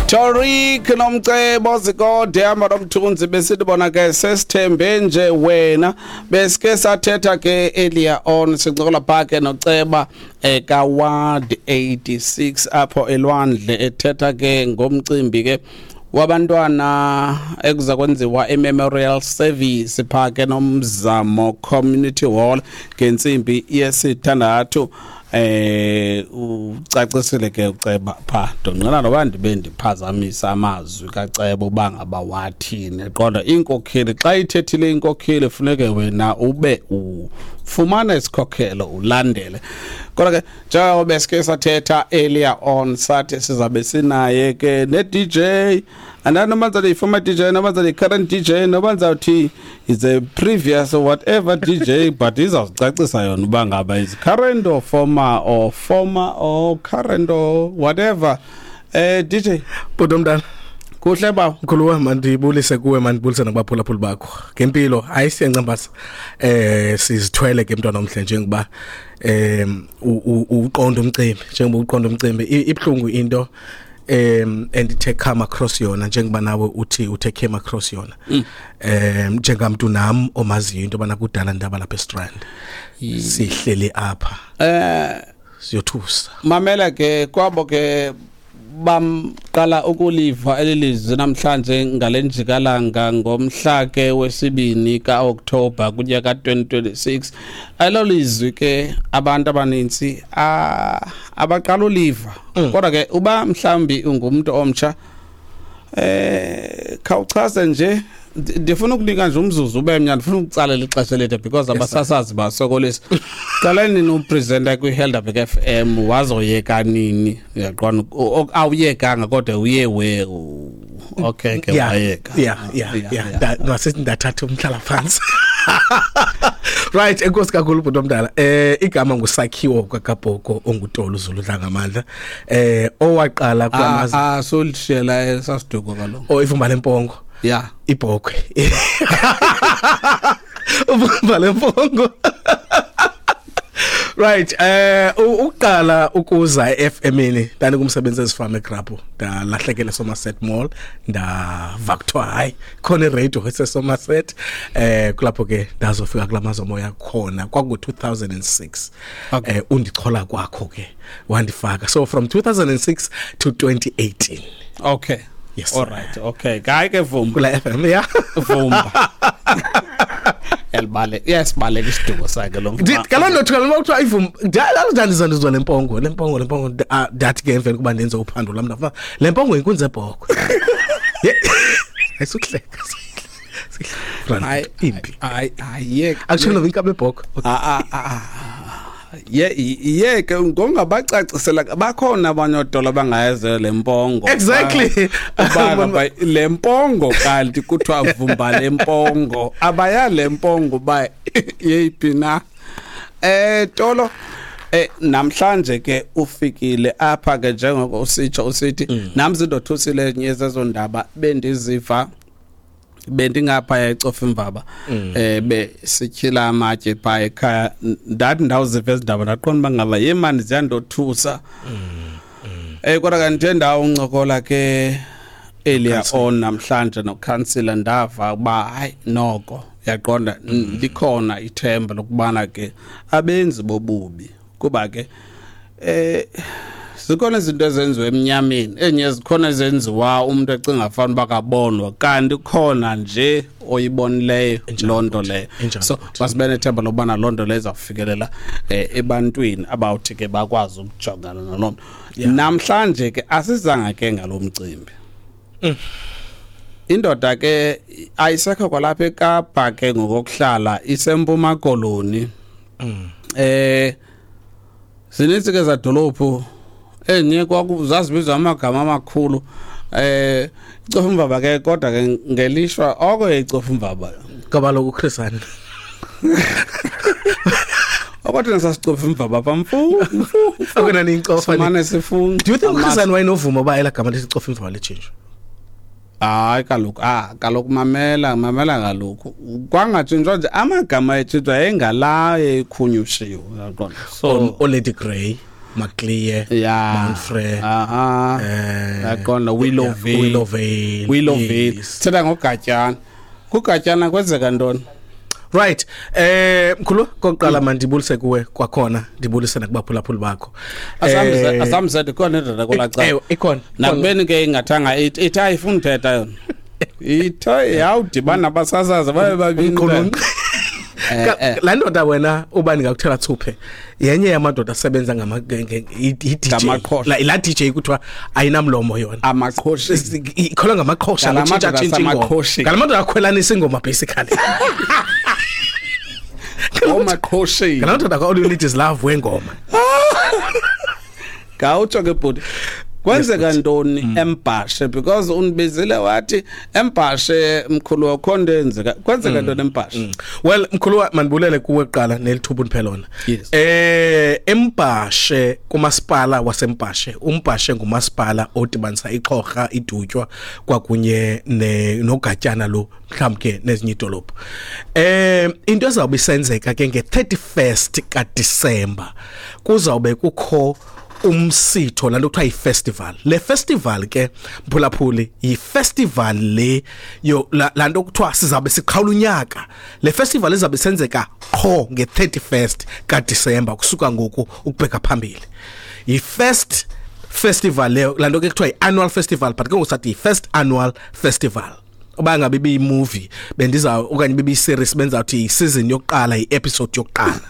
Torik nomcebo zikode hamba nomthunzi besithi bona ke sesithembe nje wena. Besike sathetha ke earlier on sincokola pha ke noceba ka Ward 86 apho elwandle, ethetha ke ngomcimbi ke wabantwana ekuza kwenziwa i-memorial service pha ke Nomzamo Community Hall ngentsimbi yesithandathu. Ucacisile ke uceba pha, ndonqena noba ndibe ndiphazamisa amazwi kaceba uba ngaba wathini, kodwa inkokheli xa ithethile inkokheli funeke wena ube ufumana isikhokhelo ulandele. Kodwa ke njengoba besike sathetha earlier on, sathi sizabe sinaye ke ne-DJ, and noma ngizathi i-former DJ, noma ngizathi i-current DJ, noma ngizathi is a previous or whatever DJ, but izawucacisa yona uba ngaba is current or former or former or current or whatever. DJ. Bhuti omdala. Kuhle bawo. Mkhulu wami, mandibulise kuwe, mandibulise nakubaphulaphuli bakho. Ngempilo hayi siyancambasa. Sizithwele ke mntwana omhle, njengoba uqonda umcimbi, njengoba uqonda umcimbi, ibhlungu into endithe come across yona, njengoba nawe uthi uthe came across yona. Njengamntu nam omaziyo into bana kudala ndaba lapha eStrand. Sihleli apha. Siyothusa. Mamela ke kwabo ke bamqala ukuliva elilizwi namhlanje ngalenjikalanga ngomhla ke wesibini kaOktober kunyaka 2026. Elo lizwi ke abantu abaninzi abaqala uliva. Kodwa ke uba mhlambi ungumuntu omtsha, khawuchaze nje, ndifuna ukunika nje umzuzu ube mnyama, ndifuna ukutsalela ixesha elide because abasasazi basokolisa. Qala nini upresenter kwi-Helderberg FM, wazoyeka nini? Uyaqonda awuyekanga kodwa uye we okay ke wayeka. Yeah, ngase ndathatha umhlala phansi. Right, enkosi kakhulu bhuti omdala. Igama nguSakhiwo kaKabhoko onguTolo Zulu Dlangamandla. Owaqala kulamazi solishela esasiduko kaloku. Oh, ivumba lempongo. Yeah. Ibhokwe. Uvumba lempongo. Right, uqala ukuza eFM-ini ndani kumsebenzi ezifama eGrabho, ndalahlekela Somerset Mall, ndava kuthiwa hayi khona iradio eseSomerset, kulapho ke ndazofika kulamazomoya khona kwaku 2006. Undichola kwakho ke wandifaka, so from 2006 to 2018. Okay. Yes. All right. Okay. Hayi ke vuma. Kula FM, yeah. Vumba. Elibale. Yes, baleka isiduko sakhe lo. Kaloku ndothuka noma kuthiwa ivum, ndandizwa lempongo, lempongo, lempongo, ndathi ke emveni kuba ndenze uphando lam ndafa lempongo inkunzi ebhokwe. Ayisukuhleka. Hayi impi. Hayi hayi yeke. Akutsho noba inkabi ebhokwe. Ye ke ngongabacacisela bakhona abanye odola bangayeze lempongo. Exactly. Uba lempongo kanti kuthiwa vumba lempongo. Abaya lempongo ba yeyiphi na? Tolo, namhlanje ke ufikile apha ke njengoko usitsho usithi nami zindothusile nyezezo ndaba bendiziva bendingapha eCofimvaba be sityhila amatye pha ekhaya, ndathi ndawuziva ezindaba ndaqonda uba ngaba yemani ziyandothusa. Kodwa kanti ndawo uncokola ke earlier on namhlanje nokhansila, ndava uba hayi noko uyaqonda likhona ithemba lokubana ke abenzi bobubi, kuba ke zikhona izinto ezenziwa emnyameni, enye zikhona ezenziwa umuntu ecinga fana uba kabonwa, kanti khona nje oyibonileyo loo nto leyo. So masibe nethemba lokubana loo nto leyo izawufikelela ebantwini abawuthi ke bakwazi ukujongana naloo nto. Namhlanje ke asizanga ke ngalo mcimbi. Indoda ke ayisekho kwalapha eKapa ke ngokokuhlala, iseMpuma Koloni. Zininzi ke zadolophu enye kwakuzazibizwa amagama amakhulu, iCofimvaba ke, kodwa ke ngelishwa oko iCofimvaba ngoba lokhu Chris Hani Okwathi sasicofimvaba pha mfu akuna nincofa simane sifunga. Do you think Chris Hani wayenovuma uba elagama lithi iCofimvaba litshintshe? Hayi kaloku, kaloku mamela kaloku kwangatshintshwa nje amagama etshintshwa engala ekhunyushiwe, uyaqonda. So o Lady Grey. Maclear, Yeah. Mount Frere. Aha. Yaqonda Willowvale. Willowvale. Willowvale. Yes. Thetha ngoGatyana. KuGatyana kwenzeka ntoni? Right. Mkhulu, kokuqala mandibulise kuwe kwakhona, ndibulise nakubaphulaphuli bakho. Asamzede khona indoda kwelaa Ewe, ikhona. Nakubeni ke ingathanga ithi ayifuni uthetha yona. Ithe yawudibana nabasasazi babe babini. Umqulunqi. Laa ndoda wena uba ndingakuthela thuphe yenye yamadoda asebenza ngama i-DJ. Ngamaqhosha. La DJ kuthiwa ayinamlomo yona. Amaqhosha. Ikholwa ngamaqhosha, Ngala madoda notshintsha-tshintsha ingoma. asamaqhosheni. Ngala madoda akhwelanisa ingoma basically. Omaqhosheni. Ngala madoda ka All You Need Is Love wengoma. Gawutsho ke bhuti. Kwenzeka ntoni eMbhashe? Because undibizile wathi eMbhashe mkhulu wakho nto eyenzeka. Kwenzeka ntoni eMbhashe? Well, mkhulu, mandibulele kuwe kuqala nelithuba undiphe lona. Yes. eMbhashe, kumasipala waseMbhashe. UMbhashe ngumasipala odibanisa iXhorha, iDutywa kwakunye noGatyana lo, mhlawumbi ke nezinye idolophu. Into ezawube isenzeka ke nge-31st kaDisemba, kuzawube kukho umsitho lanto kuthiwa yi-festival. Le festival ke, mphulaphuli, yi-festival le yo lanto kuthiwa sizabe siqhawula unyaka. Le festival izabe isenzeka qho nge-31st kaDisemba kusuka ngoku ukubheka phambili. Yi-first festival leyo, lanto ke kuthiwa yi-annual festival, but ke ngoku sathi yi-first annual festival. Uba ngabe ibiyi-movie bendiza okanye ibiyi-series benzawuthi yi-season yokuqala, yi-episode yokuqala.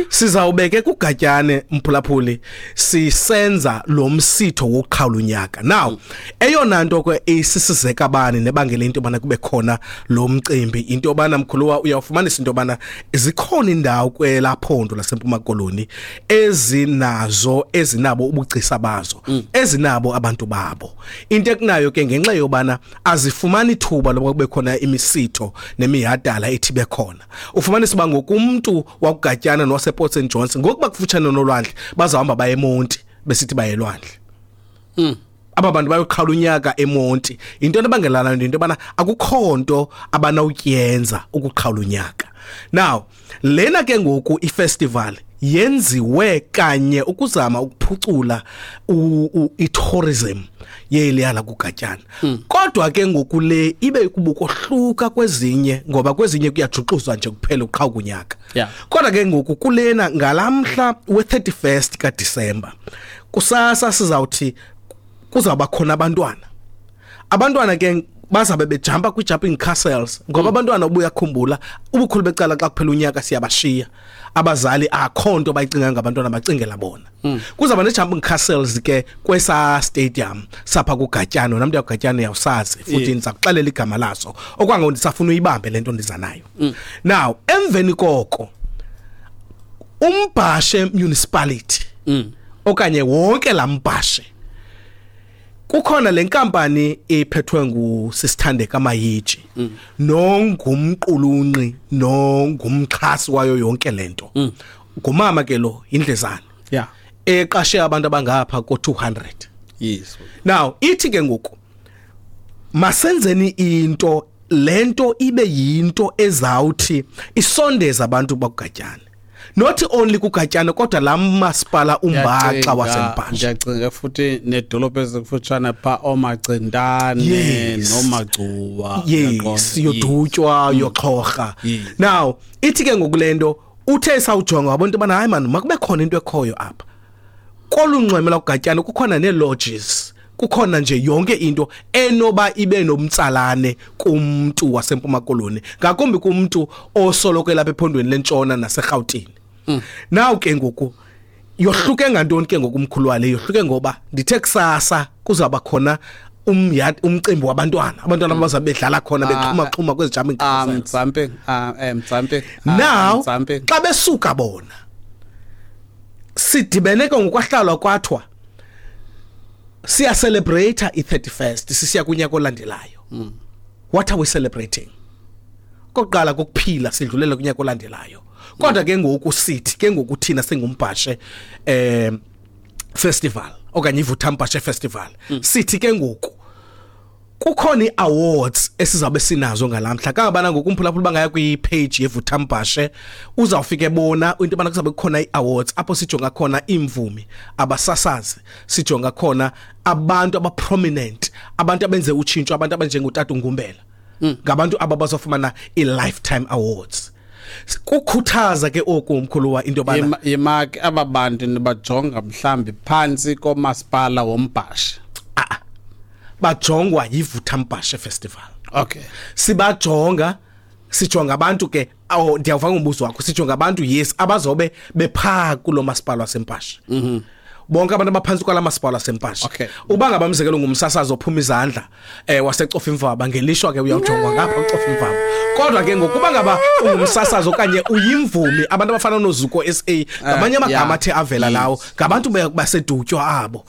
Sizawubeke kuGatyane, mphulaphuli, sisenza lo msitho wokuqhawula unyaka. Now, eyona nto ke isisizeka bani nebangela into yobana kube khona lo mcimbi, into yobana mkhuluwa uyawufumanisa into yobana zikhona indawo kwelaa phondo laseMpuma Koloni ezinazo, ezinabo ubugcisa bazo, ezinabo abantu babo. Into ekunayo ke ngenxa yobana azifumani ithuba lokuba kube khona imisitho nemihadala ethi bekhona. Ufumanisa uba ngoku umntu wakuGatyana nowasePort St Johns ngokuba kufutshane nolwandle bazahamba baye eMonti besithi baye elwandle. Aba bantu bayoqhawula unyaka eMonti. Into ebangela loo nto into yobana akukho nto abanawuyenza ukuqhawula unyaka. Now, lena ke ngoku ifestival yenziwe kanye ukuzama ukuphucula i-tourism yeliya lakuGatyana. Kodwa ke ngoku le ibe kubukohluka kwezinye, ngoba kwezinye kuyajuxuzwa nje kuphela uqhawuka unyaka. Kodwa ke ngoku kulena ngalamhla we-31st kaDisemba kusasa sizawuthi kuzawuba khona abantwana. Abantwana ke bazabe bejumpa kwi-jumping castles, ngoba abantwana ubuyakhumbula ubukhulu becala xa kuphela unyaka siyabashiya. Abazali akho nto bayicinga ngabantwana, bacingela bona. Kuzawuba ne-jumping castles ke kwesa stadium sapha kuGatyana. Namntu yakuGatyana uyawusazi futhi ndizakuxelela igama laso. Okwangoku ndisafuna uyibambe le nto ndiza nayo. Now, emveni koko uMbhashe municipality okanye wonke la Mbhashe, kukhona le nkampani ephethwe nguSisithandeka Mayiji nongumqulunqi nongumxhasi wayo yonke lento. Ngumama ke lo, indlezana. Eqashe abantu abangapha ko-200. Yes. Now, ithi ke ngoku masenzeni into lento ibe yinto ezawuthi isondeza abantu bakuGatyana. Not only kuGatyana kodwa la masipala umbaxa waseMbhashe. Ndiyacinga futhi nedolophu ezikufutshane pha oMacindane noMagcuwa. Yes, yoDutywa, yoXhorha. Now, ithi ke ngoku lento uthe sawujonga wabona into bana hayi man makube khona into ekhoyo apha. Kolunxweme lakuGatyana kukhona nee-lodges, kukhona nje yonke into enoba ibe nomtsalane kumntu waseMpuma Koloni, ngakumbi kumntu osoloko elapha ephondweni lentshona naseRhawutini. Now ke ngoku yohluke ngantoni ke ngoku umkhulu wale? Yohluke ngoba ndithe kusasa kuzawuba khona umcimbi wabantwana, abantwana abazabe bedlala khona bexhuma xhuma kwezi jumping castles. Jumping, jumping. Now jumping. Xa besuka bona sidibene ke ngokwahlalwa kwathwa siya celebrate i-31st sisiya kunyaka olandelayo. What are we celebrating? Kokuqala kokuphila sidlulele kunyaka olandelayo. Kodwa ke ngoku sithi ke ngoku thina singuMbhashe festival okanye iVutha Mbhashe festival, sithi ke ngoku Kukhona iawards esizabe sinazo ngalamhla kangabana ngokumphulaphula bangaya kwi-page yeVuthambhashe, uzawufika ebona into bana kuzabe kukhona iawards apho sijonga khona imvumi, abasasazi, sijonga khona abantu abaprominent, abantu abenze utshintsho, abantu abanjengotata Ngumbela. Ngabantu ababazofumana i-lifetime awards. Kukhuthaza ke oku umkhuluwa into bana Yimaki aba bantu nibajonga mhlambi phantsi komasipala woMbhashe? Bajongwa yiVuthambhashe Festival. Sibajonga, sijonga abantu ke, awu, ndiyawuva ngombuzo wakho. Sijonga abantu, yes, abazobe bephaa kulo masipala waseMbhashe, bonke abantu abaphantsi kwala masipala waseMbhashe. Uba ngaba umzekelo ngumsasazi ophuma izandla waseCofimvaba, ngelishwa ke uyawujongwa ngapha kuCofimvaba. Kodwa ke ngokuba ngaba ungumsasazi okanye uyimvumi, abantu abafana noZuko SA, ngamanye amagama athe avela lawo, ngabantu baseDutywa abo,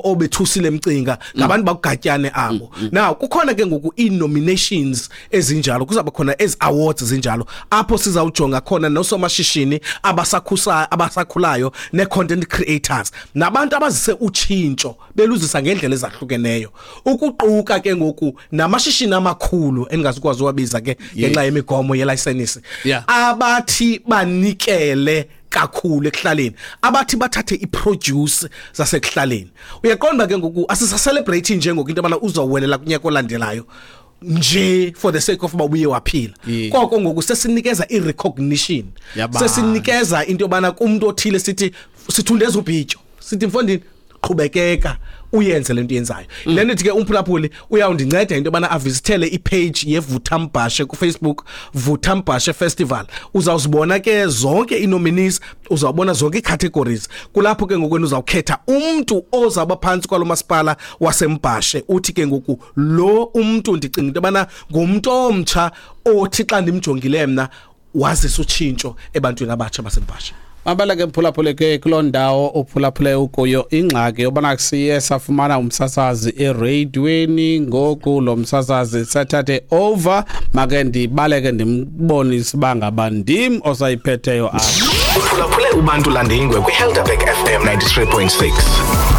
obethusile emcinga, ngabantu bakugatyane abo. Now kukhona ke ngoku ii-nominations ezinjalo, kuzaba khona ezi awards zinjalo apho sizawujonga khona nosomashishini abasakhusa, abasakhulayo, ne-content creators, nabantu abazise utshintsho beluzisa ngendlela ezahlukeneyo, ukuquka ke ngoku namashishini amakhulu endingazukwazi uwabiza ke ngenxa yemigomo yelayisenisi, abathi banikele kakhulu ekuhlaleni, abathi bathathe iproduce zasekuhlaleni. Uyaqonda ke ngoku asisacelebrate nje ngoku into yobana uzowelela kunyaka olandelayo nje for the sake of uba ubuye waphila. Koko ngoku sesinikeza i-recognition, Yabantu. sesinikeza into yobana kumntu othile sithi sithundeza ubhityo, sithi mfondini, qhubekeka uyenze lento yenzayo. Le nto ke umphulaphuli uyawundinceda into yobana avisithele ipage yeVuthambhashe kuFacebook, Vuthambhashe Festival. Uzawuzibona ke zonke ii-nominees, uzawubona zonke ii-categories. Kulapho ke ngokwenu uzawukhetha umntu ozawuba phantsi kwalo masipala waseMbhashe, uthi ke ngoku lo umntu ndicinga into yobana ngumntu omtsha othi xa ndimjongile mna wazisa utshintsho ebantwini abatsha baseMbhashe. Mabele ke mphulaphule ke kuloo ndawo uphulaphule ukuyo, ingxaki yobana siye safumana umsasazi ereyidweni, ngoku lo msasazi sathathe over. Make ndibaleke ndimbonise uba ngaba ndim osayiphetheyo apha. Uphulaphule uBantu Landingwe kwiHelderberg FM 93.6.